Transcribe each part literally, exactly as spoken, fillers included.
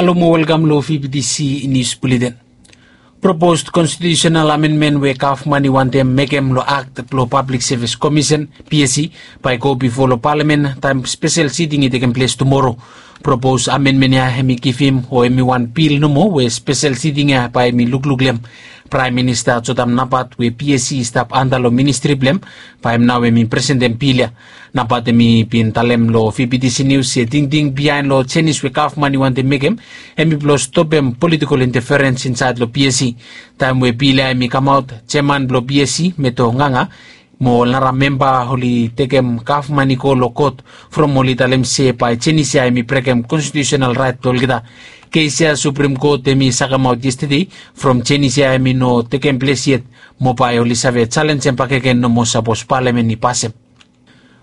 Halo mo welkam lo V B T C Nius Buleten. Propos konstitiusenal amenmen we gavman i wantem mekem lo akt blo Pablik Sevis Komisen, P S C, bae i go bifo lo palamen taem spesel siting i tekem ples tumoro. Propos amenmen ya hem i givim o hem i wan bil nomo we spesel siting ya bae hem i lukluk lo hem. Praem Minista Jotam Napat we P S C i stap anda lo ministri blo hem, bae hem nao hem i presentem bil ya. Napat hem i bin talem lo V B T C Nius se tingting biaen lo jenis we gavman i wantem mekem hem i blo stopem politikol inteferens insaed lo P S C. Taem we bil ya hem i kamaot, jeaman blo P S C, Meto Nganga, mo ol nara memba oli tekem gavman i go lo kot from oli talem se bae jenis ya hem i brekem konstitiusenal raet blo olgeta. Kes ya Suprem Kot hem i sakemaot yestede from jenis ya hem i no tekem ples yet, mo bae oli save jalenjem bakegen nomo sapos palamen i pasem.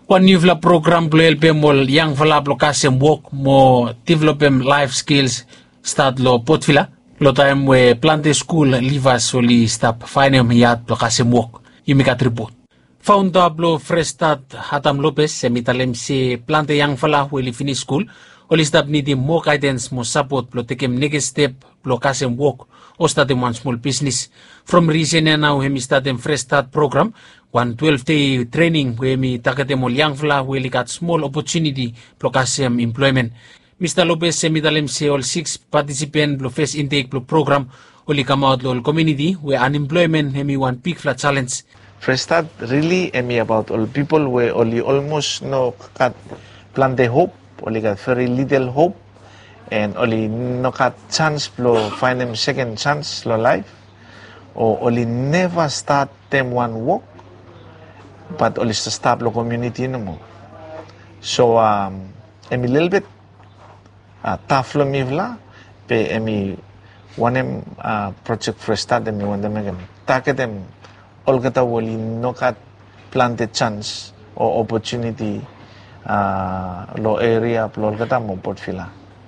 Wan niufala program blo helpem ol yangfala blo kasem wok mo developem laef skils stat lo Port Vila, lo taem we plante skul livas oli stap faenem yad blo kasem wok. Yumi gat ripot. Faonda blo Fresh Start, Adam Lopez, hem i talem se plante yangfala we oli finis skul oli stap nidim moa gaedens mo sapot blo tekem nekis step blo kasem wok o statem wan smol bisnis. From risen ya nao hem i statem Fresh Start program, wan twelve dei trening we hem i tagetem ol yangfala we oli gat smol opotuniti blo kasem emploemen. Mista Lopez hem i talem se ol sikis patisipen blo fes intek blo program oli kamaot lo ol komuniti we anemploemen hem i wan bigfala jalenj. Fresh Start rili hem i abaot ol pipol we oli olmos no gat plante hop, oli gat veri lidel hop, en oli no gat jans blo faenem seken jans lo laef, o oli neva statem wan wok, bat oli stap lo komuniti nomo. So hem i lelebet taf lo mifala, be hem i wanem projek Fresh Start hem i wantem mekem tagetem olgeta we oli no gat plante jans o opotuniti lo eria blo olgeta mo Port Vila.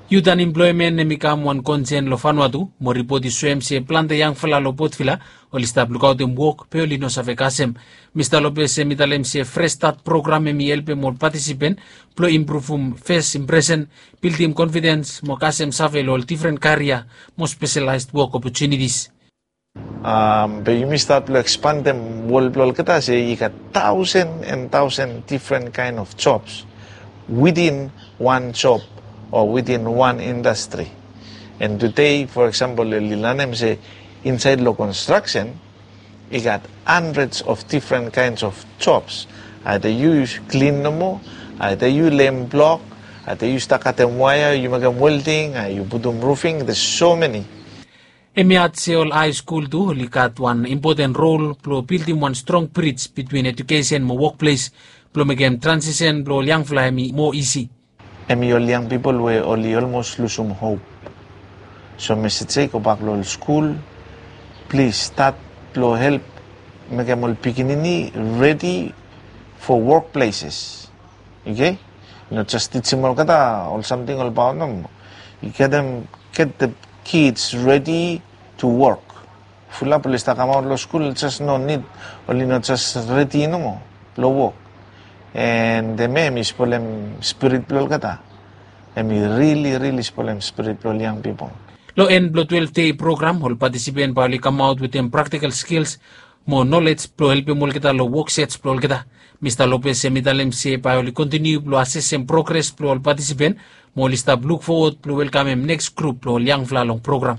Yut anemploemen hem i kam wan konsen lo Vanuatu, mo ripot i soem se plante yangfala lo Port Vila oli stap lukaotem wok be oli no save kasem. Mista Lopez hem i talem se Fresh Start program hem i helpem ol patisipen blo impruvum fes impresen, bildim konfidens mo kasem save lo ol difren karia mo speselaes wok opotunitis. Be yumi stat blo ekspandem wol blo olgeta se i gat taosen en taosen difren kaen of jobs witin wan job o witin wan indastri. En tede, fo eksampol, oli lanem se insaed lo konstraksen i gat handreds of difren kaens of jobs. Aeda yu klin nomo, aeda yu lem blok, aeda yu stap katem waea, yu mekem welding, ae yu putum rufing, there's so many. Hem i add se ol haeskul tu oli gat wan impoten rol blo bildim wan strong brij bitwin ejukesen mo wokples blo mekem transisen blo ol yangfala hem i moa isi. Hem i ol yang pipol we oli olmos lusum hop. So mesej ya i gobak lo ol skul, plis stat blo help mekem ol pikinini redi fo wokpleses. Oke? No jes tijim olgeta ol samting olbaot nomo. Yu getem, get the kids ready to work. Fulap oli stap kamaot lo skul jes no nid, oli no jes redi nomo blo wok. En hemia hem i spolem spirit blo olgeta. Hem i rili rili spolem spirit blo ol yang pipol. Lo en blo twelve dei program, ol patisipen bae oli kamaot wetem praktikal skils mo nolej blo helpem olgeta lo wok sej blo olgeta. Mista Lopez hem i talem se bae oli kontiniu blo asesem progres blo ol patisipen, mo oli stap luk fowod blo welkamem neks grup blo ol yangfala long program.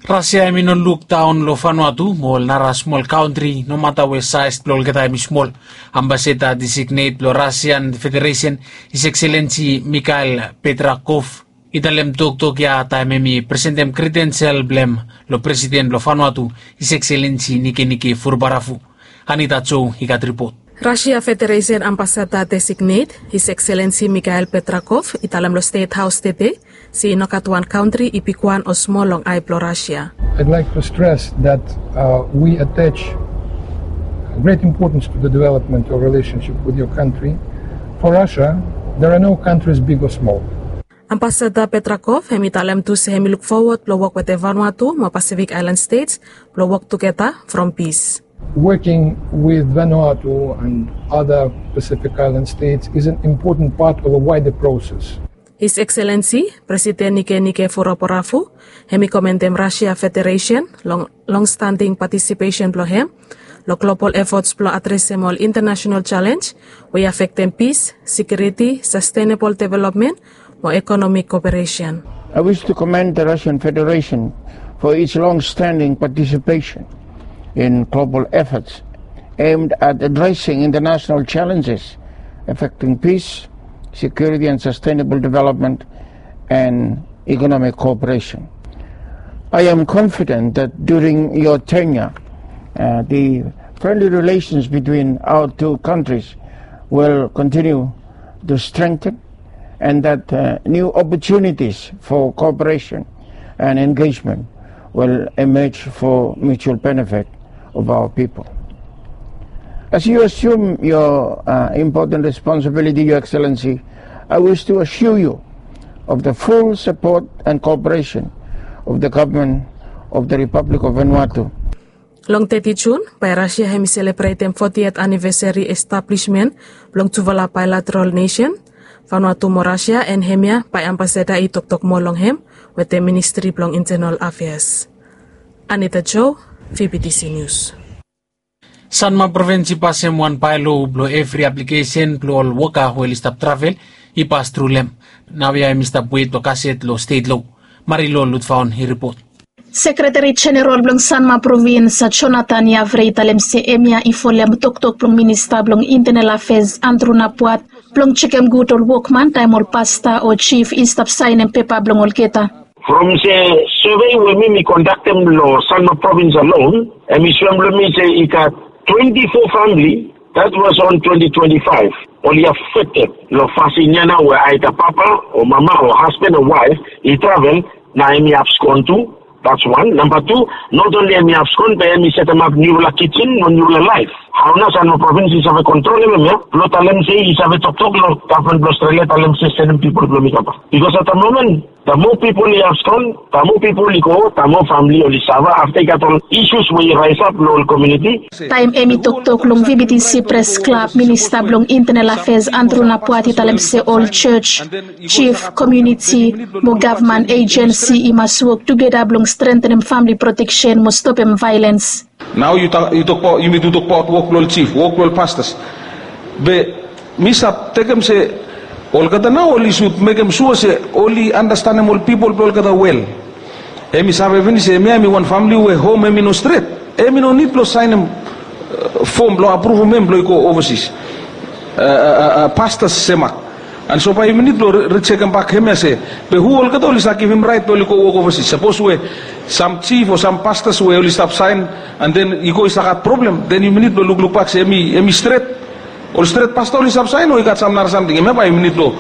Rasia hem i no lukdaon lo Vanuatu mo ol nara smol kantri, nomata we saes blo olgeta hem i smol. Ambasada designet blo Rasian Federesen, His Excellency Mikhail Petrakov, i talem toktok ya taem hem i presentem kredensel blo hem lo Presiden blo Vanuatu, His Excellency Nikenike Vurubaravu. Anita Jo i gat ripot. Rasia Federesen Ambasada Designet, His Excellency Mikhail Petrakov, i talem lo Stet Haos tede se i no gat wan kantri i bigwan o smol long ae blo Rasia. I'd like to stress that uh, we attach great importance to the development of relationship with your country. For Russia, there are no countries big or small. Ambasada Petrakov hem i talem tu se hem i luk fowod blo wok wetem Vanuatu mo Pacific Island States blo wok tugeta from pis. Working with Vanuatu and other Pacific Island states is an important part of a wider process. His Excellency Presiden Nikenike Vurobaravu hem i komendem Rasia Federesen long longstanding patisipesen blong hem long global efots blong adresem ol intanasenal jalenj we i afektem pis, sekiuriti, sastenabol developmen mo ekonomik koperesen. I wish to commend the Russian Federation for its long-standing participation in global efforts aimed at addressing international challenges affecting peace, security and sustainable development and economic cooperation. I am confident that during your tenure, uh, the friendly relations between our two countries will continue to strengthen and that uh, new opportunities for cooperation and engagement will emerge for mutual benefit of our people. As you assume your uh, important responsibility, Your Excellency, I wish to assure you of the full support and cooperation of the government of the Republic of Vanuatu. Long teti Jun bae Rasia hem i selebretem fotiet anivesari establismen blong tufala bailateral nesen. Vanuatu mo Rasia en hemia bae ambasada i toktok moa long hem wetem ministri blong intenal afeas. Anita Jo, V B T C Nius. Sanma provins i pasem wan baelo blong evri aplikesen blong ol woka we oli stap travel i pas tru long hem. Naoia hem i stap wet blong kaset long stet lo. Marilo Lutfaon i ripot. Sekretari Jeneral blong Sanma provins Jonathan Yavre i talem se hemia i folem toktok blong minista blong intenal afeas Andrew Napuat blong jekem gud ol wokman taem ol pasta o jif i stap saenem pepa blong olgeta. From se survey we mi mi kondaktem long Sanma provins alone, hem i soem long mi se i gat twenty-four famili that was on twenty twenty-five oli afekted long fasin ya nao we aeda papa o mama o hasban o waef i travel na hem i abskon tu. That's one. Namba tu, not only hem i abskon be hem i setemap niufala kijen mo niufala laef. Hao nao Sanma provins i save kontrolem hemia blong talem se i save toktok long gavman blong Australia talem se sendem pipol blong mi kambak. Bikos at the moment the more pipol i abskon, the more pipol i go, the more famili oli safa afta i gat ol isus we i raesap long ol komuniti. Taem hem i toktok long V B T C pres klab, minista blong intenal afeas Andrew Napuat i talem se ol jos, jif, komuniti mo gavman ejensi i mas wok tugeta blong strentenem famili proteksen mo stopem vaelens. Nao yu tokbaot, yumi tu tokbaot wok blong ol jif, wok blong ol pastas. Be mi stap tekem se olgeta nao oli sud mekem sua se oli andastanem ol pipol blong olgeta wel. Hem i save finis se hemia hem i wan famili we hom hem i no stret. Hem i no nid blong saenem fom blong apruvum hem blong i go ovasis. Pastas semak. An so bae yumi nid blong rijekem bak hemia se be hu olgeta oli save givim raet blong oli go wok ovasis? Sapos we sam jif o sam pastas we oli stap saen an den i go i stap gat problem, den yumi nid blong lukluk bak se hem i stret. Ol stret pasta oli stap saen o i gat sam nara samting? Hemia bae yumi nid blong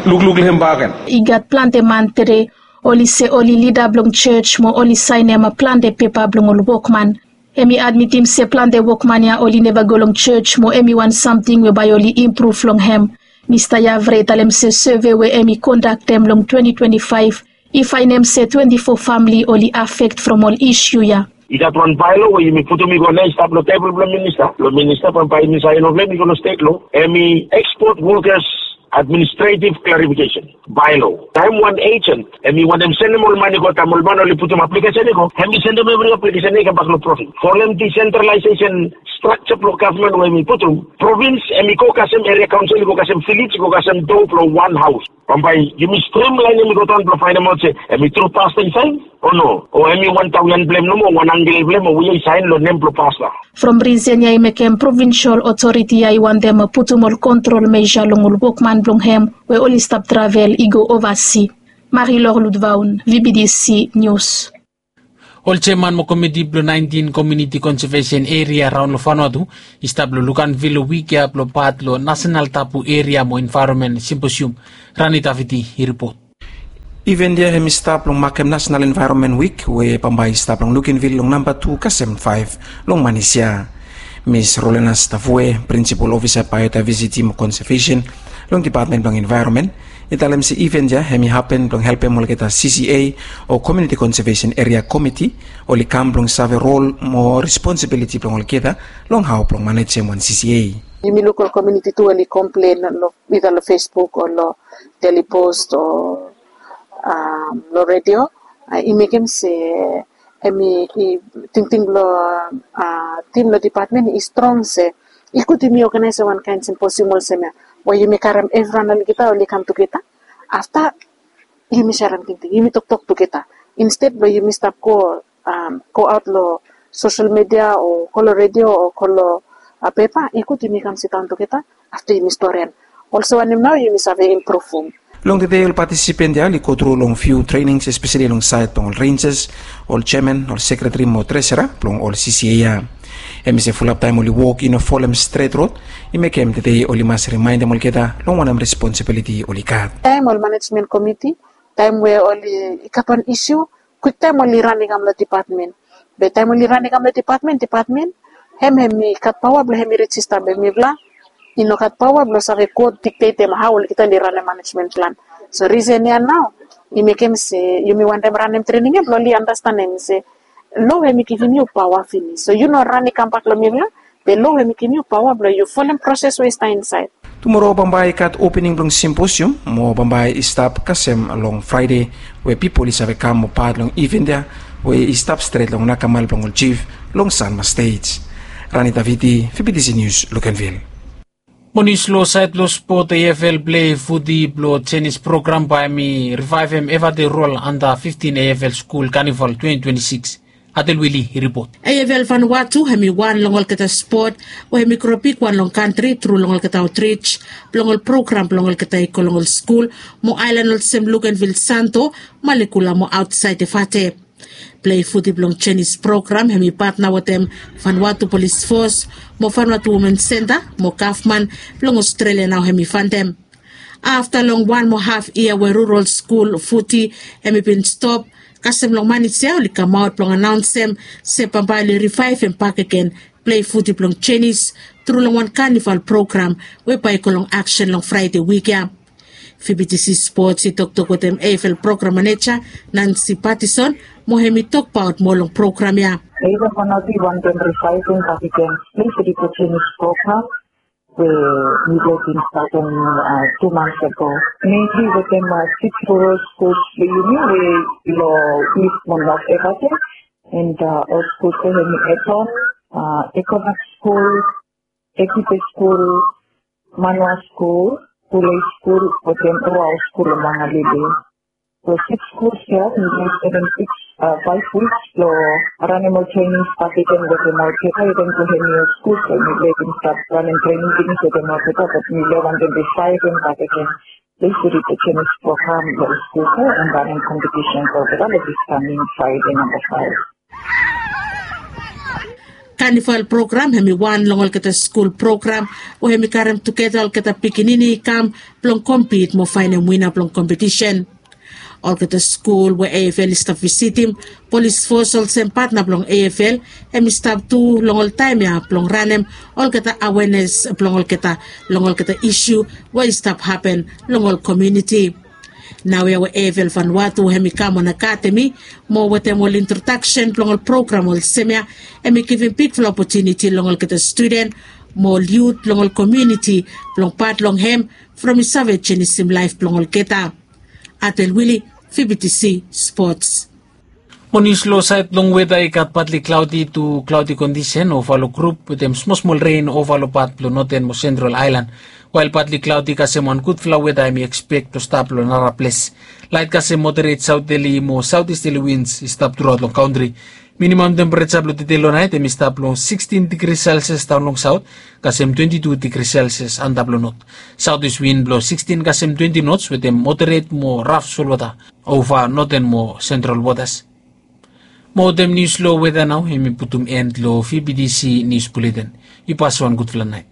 lukluk long hem bakegen. I gat plante man tede oli se oli lida blong jos mo oli saenem plante pepa blong ol wokman. Hem i admitim se plante wokman ya oli neva go long jos mo hem i wan samting we bae oli impruv long hem. Mista Yavre i talem se sove we hem i kondaktem long twenty twenty-five i faenem se twenty-four famili oli afekt from ol isu ya. I gat wan baelo we yumi putum i go nao i stap long tebol blong minista blong minista bambae yumi saen long hem i go long stet lo. Hem i ekspot wokas administretiv klarifikesen baelo. Taem wan ejen hem i wantem sendem ol man i go taem ol man oli putum aplikesen i go, hem i sendem evri aplikesen i kambak long provins. Folem disentralaesesen strakja blong gavman we hem i putum, provins hem i go kasem eria kaonsel, i go kasem vilej, i go kasem do blong wan haos. Bambae yumi strimlaenem i go daon blong faenemaot se hem i tru pasta i saen o no, o hem i wan taoian blong hem nomo, wan ankel blong hem o we i saen long nem blong pasta. From risen ya i mekem provinsol otoriti ya i wantem putum ol kontrol meja long ol wokman blong hem we oli stap travel i go ovasi. Marilor Ludvaun, V B D C Nius. Ol jeman mo komiti blong naentin komiuniti konsevesen eria raon long Vanuatu i stap long lukanvil long wik ya blong pat long nasenal tabu eria mo envaeronmen simposium. Rani Daviti i ripot. Iven ya hem i stap long makem nasenal envaeronmen wik we bambae i stap long lukanvil long namba tu kasem faef long manis ya. Mis Rolenas Tavue, prinsipol ofisa baeodaevesiti mo konsevesen long depatmen blong envaeronmen, i talem se iven ya hem i hapen blong helpem olgeta C C A o komiuniti konsevesen eria komiti oli kam blong save rol mo responsibiliti blong olgeta long hao blong manejem wan C C A. Yumi luk ol komuniti tu oli komplen long, ida long Facebook o long Daily Post o long redio. I mekem se em i tingting blong tim long dipatmen i strong se i gud yumi oganaesem wankaen simposium olsem ya, we yumi karem evriwan olgeta oli kam tugeta. Afta yumi serem tingting, yumi toktok tugeta, insted blong yumi stap go go aot long sosel midia o go long redio o go long pepa. I gud yumi kam sidaon tugeta afta yumi storian olsem wanem nao yumi save impruvum. Long tede ol patisipen ya oli go tru long fiu trenings, espeseli long saed blong ol renjes, ol jeaman, ol sekreteri mo tresera blong ol C C A ya. Hem i se fulap taem oli wok i no folem stret rod, i mekem tede oli mas rimaendem olgeta long wanem responsibiliti oli gat. Taem ol manejmen komiti, taem we oli i gat wan isiu, kwiktaem oli ran i kam long dipatmen. Be taem oli ran i kam long dipatmen, dipatmen hem hem i gat paoa blong hem i rejista be mifala i no gat paoa blong save go diktetem hao olgeta oli ranem manejmen plan. So risen ya nao i mekem se yumi wantem ranem trening ya blong oli anastenem se lo hem i givim yu paoa finis, so yu no ran i kambak long mifala, be lo hem i givim yu paoa blong yu folem proses we i stap insaed. Tumora bambae i gat opening blong simposium mo bambae i stap kasem long Fraede, we pipol i save kam mo pat long iven ya we i stap stret long nakamal blong ol jif long Sanma Stej. Rani Davidi, V B T C Nius, Lukenvil. Mo nius long saed blong spot, A F L plei futi blong jenis program bae hem i rivaevem evade rol anda fiftin A F L skul kanival twenti twenti sikis. Atel Wili i ripot. A F L Vanuatu hem i wan long olgeta spot we hem i gro bigwan long kantri tru long olgeta aotrij blong ol program blong olgeta i go long ol skul mo aelan olsem Lukenvil, Santo, Malekula mo aotsaed Efate. Plei futi blong jenis program hem i patna wetem Vanuatu Polis Fos mo Vanuatu Women Senta mo gavman blong Ostrelia nao hem i fandem. Afta long wan mo haf yia we rural skul futi hem i bin stop, kasem long manija oli kamaot blong anaonsem se bambae oli rivaevem bakegen plei futi blong jenis tru long wan kanival program we bae i go long aksen long Fraede wik ya. V B T C Spots i toktok wetem A F L program maneja Nancy Patterson mo hem i tokbaot moa long program ya. A F L Vanuatu i wantem rivaevem bakegen plei futi blong jenis program we mifala bin statem tu mans ago. Mainly wetem six rural schools blong yumi we long East mo North Efate, and ol skul we hem i Eton, Ecovac Skul, Ekipe Skul, Manua Skul, Pule Skul wetem Ruau Skul long Mangalili. So six schools ya, mifala i stap seven, six, five weeks blong ranem ol trening bakegen wetem olgeta, even blong hem i ol skul we mifala i bin stap ranem trening finis wetem olgeta, bat mifala i wantem rivaevem bakegen. Plei futi blong jenis program long ol skul ya and ranem kompetisen blong olgeta long this coming Fraede namba faef. Kanival program hem i wan long olgeta skul program we hem i karem tugeta olgeta pikinini i kam blong kompit mo faenem wina blong kompetisen. Olgeta skul we A F L i stap visitim, Polis Fos olsem patna blong A F L hem i stap tu long ol taem ya blong ranem olgeta awenes blong olgeta long olgeta isiu we i stap hapen long ol komuniti. Naoia we A F L Vanuatu hem i kam on akademi mo wetem ol introdaksen blong ol program olsem ya, hem i givim bigfala opotuniti long olgeta studen mo ol yut blong ol komuniti blong pat long hem from i save jenisim laef blong olgeta. Atel Wili, V B T C Spots. Mo nius long saed blong weta, i gat patli klaodi tu klaodi kondisen ova long grup wetem smosmol ren ova long pat blong noten mo sentral aelan. Wael patli klaodi kasem wan gudfala weta hem i ekspek blong stap long nara ples. Laet kasem moderet saoterli mo saotisterli wins i stap truaot long kantri. Minimam tempereja blong tede long naet hem i stap long sikstin digri selsias daon long saot kasem twenti tu digri selsias antap long not. Saotis win blong sikstin kasem twenti nots wetem moderet mo raf solwota ova noten mo sentral wotas. Mo wetem nius long weta nao hem i putum en long V B T C nius buleten. Yu pas wan gudfala naet.